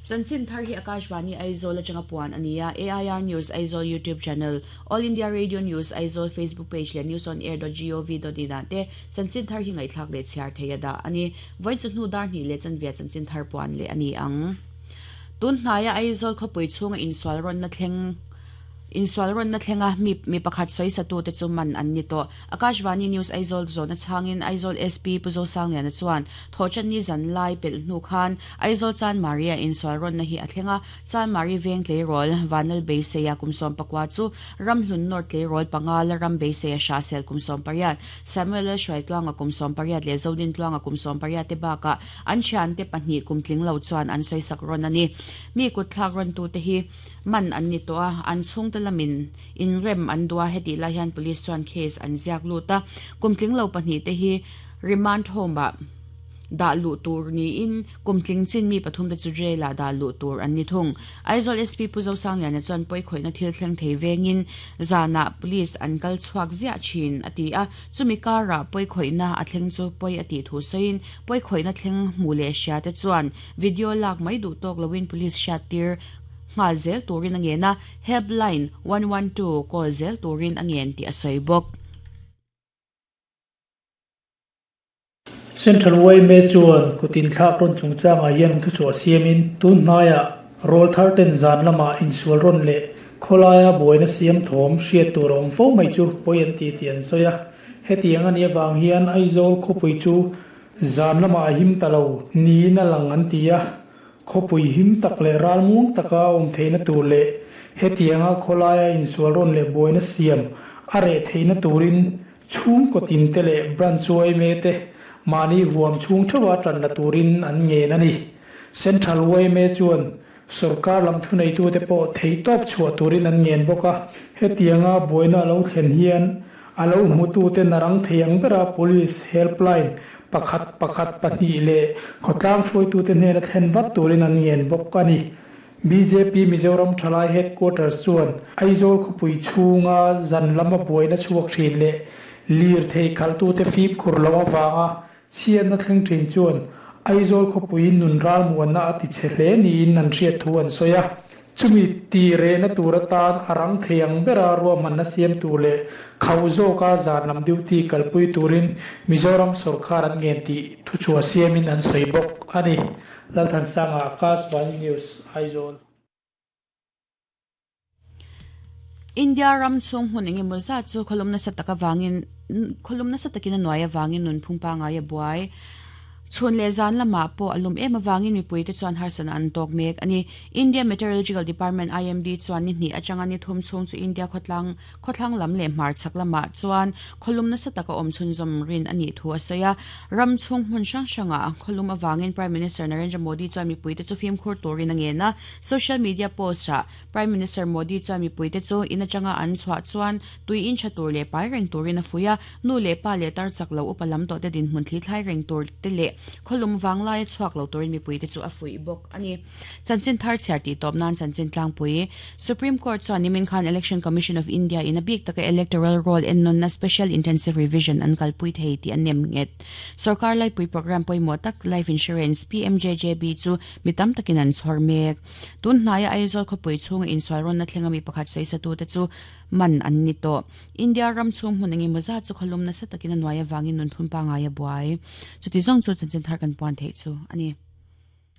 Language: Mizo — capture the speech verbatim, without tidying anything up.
Chanchin thar hi Akashvani Aizawl atanga puan ania A I R News Aizawl YouTube channel, All India Radio News Aizawl Facebook page leh news on air dot gov dot in ah te chanchin thar hi ngaihthlak leh chhiar thei a dah ani. Vawiin chu hnu dar hnih leh chanvia chanchin thar puan leh ani ang. Tun hnaia Aizawl khawpui chhunga insual rawnna thleng Insual rawnna thlenga mi mi pakhat sawi satu te chu man an ni tawh. Akashvani News Aizawl zawhna chhangin Aizawl S P Pu Zosangliana chuan Thawhṭanni zan lai pelh hnu khan Aizawl Chanmari a insual rawnna hi a thleng a, Chanmari veng tleirawl Vanlal Beiseia kum sawm pakua chu Ramhlun North tleirawl panga la ram Beiseia Hrahsel kum sawm pariat, Samuel Lalhruaitluanga kum sawm pariat leh Zodintluanga kum sawm pariat te bakah an thiante pahnih kum tling lo chuan an sawisak rawn a ni. Mi kutthlak rawntute hi man an ni tawh a, an chhungte lamin inrem an duh a, hetih lai hian police chuan case an ziak lut a, kum tling lo pahnih te hi remand home ah dah luh tur niin kum tling chin mi pathum te chu jail ah dah luh tur an ni thung. Aizawl S P Pu Zosangliana chuan pawi khawihna thil thleng thei vengin zanah police an kal chhuak ziah thin a ti a, chumi karah pawi khawihna a thleng chu pawi a tih thu sawiin pawi khawihna thleng hmu leh hria te chuan video lak mai duh tawk loin police hriat tir nghal zel turin a ngen a, helpline one one two call zel turin a ngen tih a sawi bawk. Central Y M A chuan kutin thlak rawn chungchangah hian thu chhuah siamin tun hnaiah rawl thar ten zan lamah insual rawn leh khawlaia buaina siam thawm hriat tur a awm fo mai chu pawi an ti tih an sawi a. Hetiang a nih avang hian Aizawl khawpui chu zan lamah a him ta lo niin a lang an ti a. Khawpui him tak leh ral muang taka a awm theihna tur leh hetianga khawlaia insual rawn leh buaina siam a reh theihna turin chhung kawtin te leh branch Y M A te mahni huam chhung theuha tan la turin an ngen a ni. Central Y M A chuan sarkar lam thuneitu te pawh thei tawp chhuah turin an ngen bawk a. Hetianga buaina a lo thlen hian a lo hmutu te narang thei ang bera police helpline pakhat pakhat pahnih leh khawtlang hruaitu te hnena thlen vat turin an ngen bawk a ni. B J P Mizoram Thalai Headquarters chuan Aizawl khawpui chhunga zan lama buaina chhuak thin leh lir thei khaltu te fim khur lo awanga chhiatna thleng thin chuan Aizawl khawpui nun ral muanna a ti che hle niin an hriat thu an sawi a. Chumi ti rehna tur atan a rang thei ang bera ruahmanna siam tur leh khauh zawka zan lam duty kalpui turin Mizoram sarkar an ngen tih thu chhuah siamin an sawi bawk a ni. Lalthansanga Akashvani News Aizawl. India ram chung hmun engemaw zat chu khawlum nasa tak awangin khawlum nasa takin a nuai awangin nun phung pangai a buai. Chhun leh zan lamah pawh a lum em awangin mipui te chuan harsana an tawk mek a ni. India Meteorological Department I M D chuan ni hnih atanga ni thum chhung chu India khawtlang khawthlang lam leh hmar chhak lamah chuan khawlum nasa taka awm chhunzawm rin a nih thu a sawi a. Ram chung hmun hrang hrangah khawlum awangin Prime Minister Narendra Modi chuan mipui te chu fimkhur turin a ngen a. Social media post ah Prime Minister Modi chuan mipui te chu in atanga an chhuah chuan tui in tha tur leh pai reng turin a fui a. Nu leh pa leh tar chak lo upa lam tawh te din hmun thli thlai reng tur te leh khawlum wanglai a chhuak lo turin mipui te chu a fui bawk a ni. Chanchin thar chhiar tih tawp nan chanchin tlangpui Supreme Court chuan nimin khan Election Commission of India in a bik taka electoral roll en nonna special intensive revision an kalpui thei tih an nem nget. Sarkar laipui program pawimawh tak life insurance P M J J B chu mi tam takin an chhawr mek. Tun hnaia Aizawl khawpui chhunga insual rawnna thlenga mi pakhat sawi satu te chu man an ni tawh. India ram chung hmun engemaw zat chu khawlum nasa takin a nuai awangin nun phun pangai a buai. Chuti zawng chu chanchin thar kan puan thei chu a ni.